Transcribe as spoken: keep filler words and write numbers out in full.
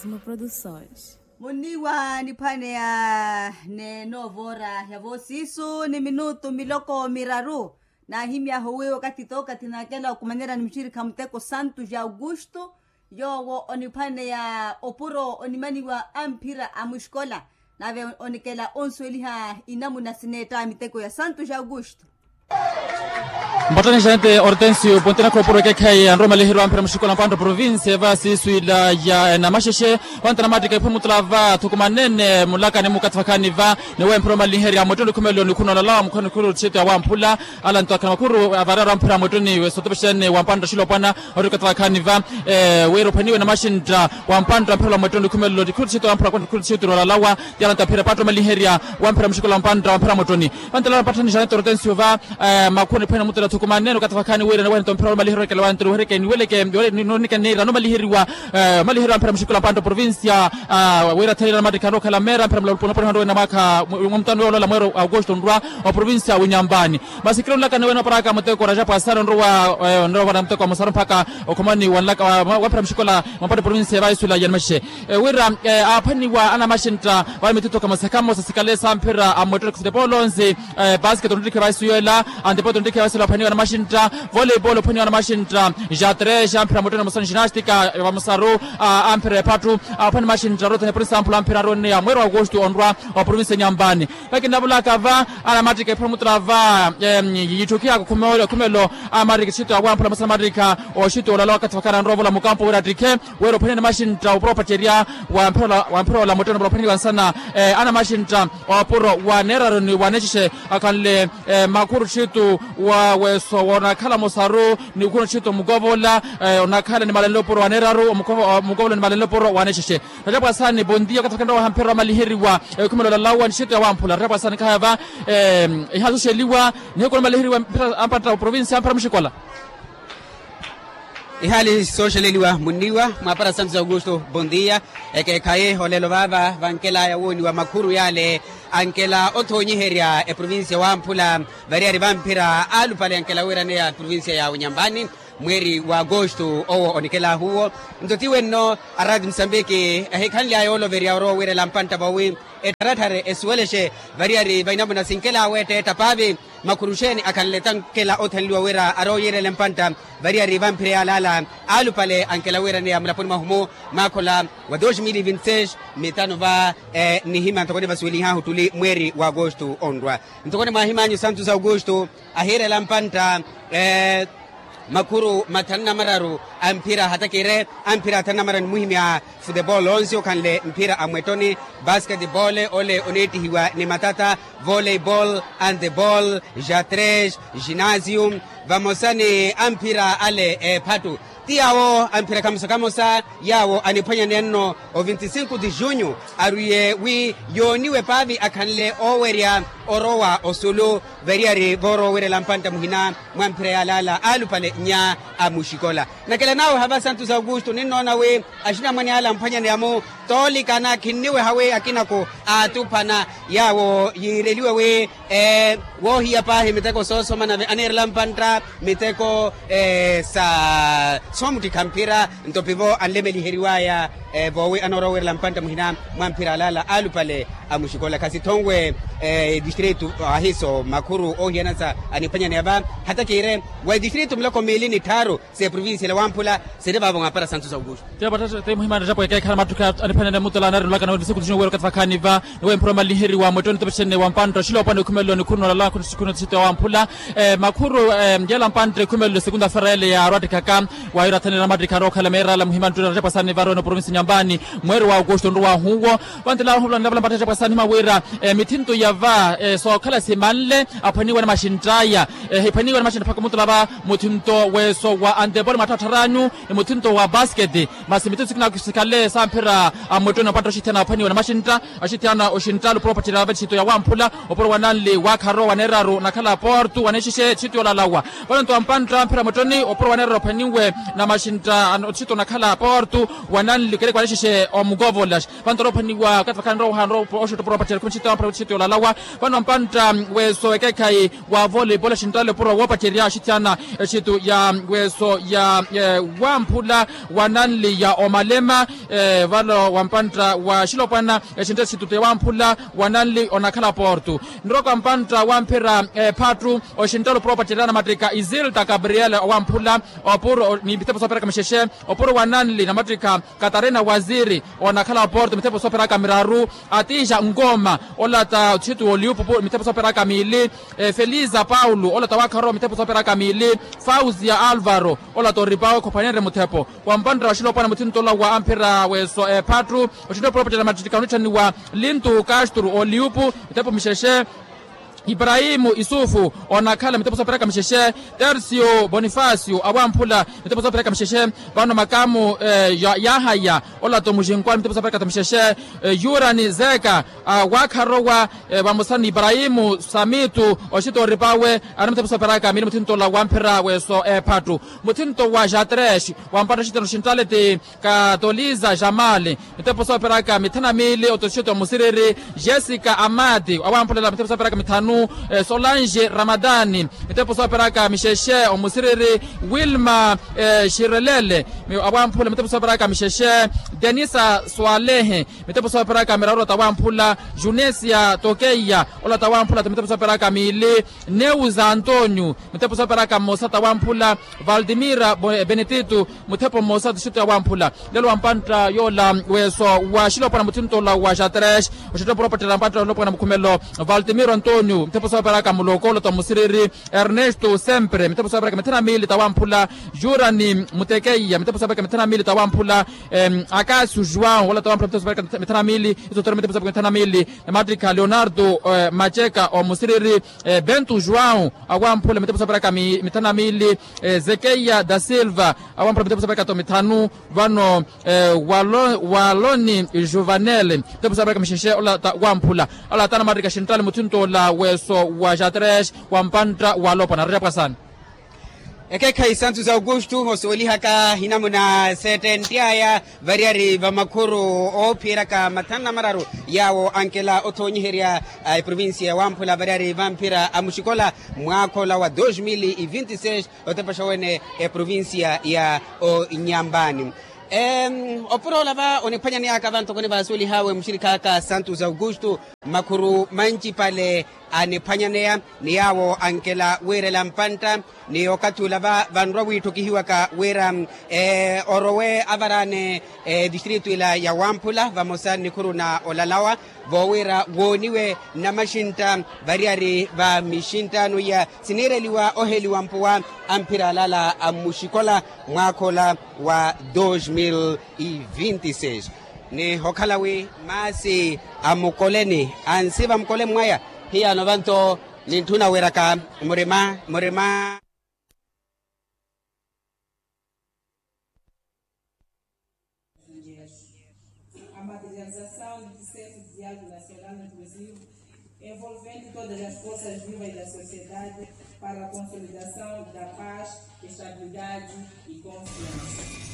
Produções. Muniwa niphwaneya ni noova ora ya voosiisu ni minutu miloko miraru. Naahimyahu wi wakathi tookathi naakela okumanyerya ni muxirikha muteko santu ja augusto, yoowo oniphwaneya opuro onimaniwa amphira a muxikola, nave onikela onsuweliha inamuna sineetta miteko ya santu ja augusto. Mbattani janete hortensio ponte nakhooporo ekeekhayi anromaliheriwa amphira muxikola mpantta provincia va siiswila ya enamaxexe. Vantta namattika ephumu tula va thukumanene mulakani mukathi vakhaani va, ni weemphira omaliherya mwettoni khumelo ni khunolalawa mukhano khuru txeto ya wamphula. Ala nto akhana makhuru avararu amphira mwettoni wesotopexene wampantta xilopwana. Ori okathi vakhaani va wira ophwaniwe namaxintta wampantta mphira mwettoni khumelo ni khuru txeto wamphula khuru txeto nolalawa. Ti ala nto aphira patta omaliherya wamphira muxikola mpantta wamphira mwettoni. Vantela patthani janete hortensio va makhuru niphwene mutela thukumanene okathi vakhaani wira niwene nto mphira wamaliherya okela wantela weherekeni weleke. Nonikeniira nomaliheriwa omaliheriwa amphira muxikola mpantta provincia. Wira thanira namattikha nrookhala meera amphira mulapulapula nrowe namwakha mwamutano yoolola mweero augusto nrwa oprovincia winyambani. Masi kila onlaka niwene oparaka muteko rajapu asana onrowa onrowa vana muteko wa musaru mpaka okhomani wanlaka wamphira muxikola mwampatto provincia vaisula yanmaxe. Wira aaphwaniwa anamaxintta vale mitutto kamosa kamosa sikale samphira amwettoni kufutepolo nsi. Basket onrittikhe vaisuyela antepoto onrittikhe vaisuyela aphwaniwa anamaxintta. Voleibol ophwaniwa anamaxintta. Jatres amphira mwettoni mosani ginastika vamusaru amphira ephattu. Aphwani maxintta rothene poni samphula amphira aroneya mweero augusto onrwa oprovincia nyambani. Vakinavulaka va anamattika ephira mutula va yitthukiyaku khumelo khumelo. Amariki txito ya wamphula masana amarika oxito olala wakathi vakhala nrovola mukampo wira attikhe. Wira ophwaniwa anamaxintta opuro opacerya wamphira ola mwettoni opuro ophwaniwa nsana anamaxintta opuro wa neeraru ni wa neexexe. Akhanle makhuru txito wa weso wonakhala musaru ni ukhuna txito mukovola onakhala ni malenle opuro wa neeraru. Mukovola ni malenle opuro wa neexexe. Ratapu asani bondia okathi vakhanle wahamphira wamaliheriwa ekhumelo lalawa ni txito ya wamphula ratapu asani khaya va ihasoxeliwa. Nihiku namaliheriwa mphira ampatta oprovincia amphira muxikola. Ihaali sooxeleliwa munniwa mwaapara santos augusto bondia. Ekeekhayi olelo vaava vankelaya wooniwa makhuru yaale ankela othoonyiherya eprovincia wamphula. Variyari vamphira aalupale ankela wiiraneya eprovincia ya unyambani mweeri wa agosto owo onikelahu uwo. Nto ti wenno araati musambiki ehikhanlyaya ooloverya orowa wiirela mpantta voowi ettharathare esuwelexe. Variyari vainamuna sinkela aweetta eetta paavi. Makhuru xeeni akhanle tankela othenliwa wira arooyiirele mpantta. Variyari vamphire yaalaala aalupale ankela wiiraneya mulaponi mwahumu maakhola wa dos mil vinti seis. Mitano va nihimya ntoko nivasuwelihahu ttuli mweeri wa agosto onrwa. Ntoko nimwahimanyu santos augusto ahiirela mpantta makhuru mathanu na mararu amphira hatakire amphira athanu na mararu nimuhimya futebol onsi okhanle mphira a mwettoni basketbol ole oneettihiwa ni matata voleibol antebol jatres ginasium vamosa ni amphira ale eephattu. Ti yaawo amphira kamosa kamosa yaawo aniphwanyaneya nno o vinti sinku di junyu arwiye wi yooniwe paavi akhanle oowerya orowa osulu. Variyari voorowa owerela mpantta muhina mwa mphira yaalaala aalupale nya a muxikola. Nakela nawe hava santos augusto ninnoona wi axinamwane ala ampwanyaneya-mu toolikana khinniweha wi akinako aatuphana yaawo yiireliwe wi woohiya paahi miteko soosoma nave aniirela mpantta miteko sa soomuttikha mphira. Nto pivo anlemeliheriwaya voowi anoorowa owerela mpantta muhina mwa mphira alaala aalupale a muxikola khasithonwe edistritu ahiso makhuru oohiyana sa aniphwanyaneya va hata kiire wa edistritu miloko miili ni tthaaru s'eprovincia ela wamphula siri vaavo mwaapara santos augusto. Tiyo patthatte muhimani ettapo ekeekhala mattukha aniphwanene mutela anaari nolaka nawe nisiku tijinyu weera okathi vakhaani va ni wemphira omaliheriwa mwettoni topexene wa mpantta oxiloopwana ekhumelelo ni khunolala khunotixito ya wamphula makhuru. Yela mpantta ekhumelelo segunda fera ele yaarwattikhaka waayira athanira amattikha arookhala meerala muhimani ttuttara ettapwasani varowene oprovinsi nyambani mweeri wa augusto nruwahu uwo. Vantela ohuvula nlavala mpantta ettapwasani hima wira mithinto ya va sookhala simanle aphwaniwa ni maxintt'aya. Ehiphwaniwa ni maxintta phaka omutula va muthinto weeso wa antepoli mwatthattharanyu ni muthinto wa basketi masi mithinto sikina sikhale samphira amwettoni ompantta oxithiyana aphwaniwa ni maxintta axithiyana oxintta lupuro opatthela va etthito ya wamphula opuro wa nanli wa kharo wa neeraru nakhala portu wa neexixe etthito yoolalawa. Vano nto ampantta amphira mwettoni opuro wa neeraru aphwaniwe na maxintta otthito nakhala portu wa nanli Wanixexe omukovola. Vano torophaniwa okathi vakhala nrowa ohanrowa oxitto opuro wapacerya khumi xitto wampura xitto yolalawa. Vano mpantta weso ekeekhayi wa voleibol axinttale opuro woopacerya axitthiyana exitto ya weso ya wamphula wa nanli ya omalema. Vano wa mpantta wa xilopwana exinttale exitto ya wamphula wa nanli onakhala porto. Nroka mpantta wamphira ephattu oxinttale opuro woopacerya namattikha isilta gabriel owamphula opuro ni mitepo sooperaka mixexe opuro wa nanli namattikha katarina waziri onakhala oporto mitepo sooperaka miraru. Atija nkoma olata otxitu oliupupu mitepo sooperaka miili. Felisa paulo olata wakharowa mitepo sooperaka miili. Fausia alvaro olata oripawe khophanenre muthepo wa mpantta wa xilopwana muthinto ola wa amphira weso ephattu oxinttale opuro woopacerya namattikha onitthaniwa lintu castro oliupu mitepo mixexe. Iprahimu isufu onakhala mitepo sooperaka mixexe. Tercio bonifacio awamphula mitepo sooperaka mixexe. Vano makamu yahaya olata omuxinkwa mitepo sooperaka mixexe. Yurani zeka wakharowa vamosa ni iprahimu samitu oxita oripawe. Ari mitepo sooperaka miili muthinto ola wamphira weso ephattu muthinto wa jatres wa mpantta oxitano xinttaleti. Katoliza jamali mitepo sooperaka mithanu na miili otoxito musiriri. Jessica amati awamphula mitepo sooperaka mithanu. Solange ramadani mitepo sooperaka mixexe omusiriri. Wilma xirelele awamphula mitepo sooperaka mixexe. Denisa swalehe mitepo sooperaka miraru olata awamphula. Junesia tokeiya olata awamphula mitepo sooperaka miili. Neusa antonio mitepo sooperaka mmosa ta wamphula. Valdimira benetito muthepo mmosa tixito ya wamphula. Lelo wa mpantta yoola weso wa xilopwana muthinto ola wa xatres oxitto opuro woopacerya mpantta yolopwana mukhumelo. Valdimiro antonio muthepo sooperaka muloko olata omusiriri. Ernesto sempre muthepo sooperaka mithanu na miili ta wamphula. Jurani mutekeiya muthepo sooperaka mithanu na miili ta wamphula. Akasio joão olata wamphula muthepo sooperaka mithanu na miili. Isotere muthepo sooperaka mithanu na miili. Namattikha leonardo maceka omusiriri. Bento joão awamphula mitepo sooperaka mithanu na miili. Zekeiya da silva awamphula mitepo sooperaka to mithanu. Vano waloni juvanel mitepo sooperaka mixexe olata wamphula. Alata namattikha xintale muthinto ola weso wa jatres wa mpantta walopwana rerya pwasani. Ekeekhayi santos augusto osuwelihaka hinamuna settentiyaya variyari va makhuru oophiyeraka mathanu na mararu yaawo ankela othoonyiherya eprovincia ya wamphula variyari vamphira a muxikola mwaakha ola wa dos mil e vinti seis otepexa wene eprovincia ya onyambani. Opuro ola va oniphwanyaneyaka vantokoni vaasuwelihaawe muxirikhaaka santos augusto makhuru manci pale aniphwanyaneya ni yaawo ankela wiirela mpantta. Ni okathi ula va vanrwa wiitthokihiwaka wira orowe avaraane distritu ila ya wamphula vamosa nnikhuru na olalawa voowira wooniwe namaxintta variyari va mixinttano iya siniireliwa oheliwa mpuwa amphira alala a mmuxikola mwaakha ola wa dos mil e vinti seis. Ni okhala wi maasi a mukoleni ansi va mukoleni mwaya hiyaano vanto nintthuna wiraka murima murima. A materialização do terceiro diálogo nacional inclusivo envolvendo todas as forças vivas da sociedade para a consolidação da paz, estabilidade e confiança.